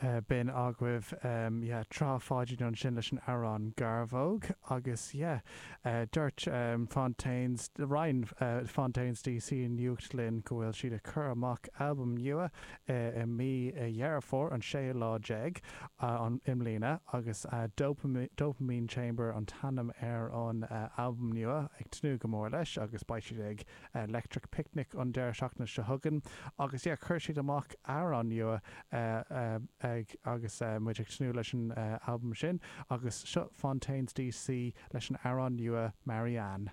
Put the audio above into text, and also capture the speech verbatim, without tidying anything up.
B'in agaibh yeah Trá Pháidín ansin leis an amhrán Garbhóg agus yeah dúirt Fontaines roinn Fontaines DC nuacht linn go bhfuil siad ag cur amach albam nua i mí Dheireadh Fómhair an séú lá déag an i mbliana agus Dopamine Chamber an t-ainm ar an albam nua ag tnúth go mór leis agus beidh siad ag Electric Picnic an deireadh seachtaine seo chugainn agus yeah chuir siad amach amhrán nua ag agus muid ag tnúth leis an albam sin agus seo Fontaines DC leis an amhrán nua Marianne.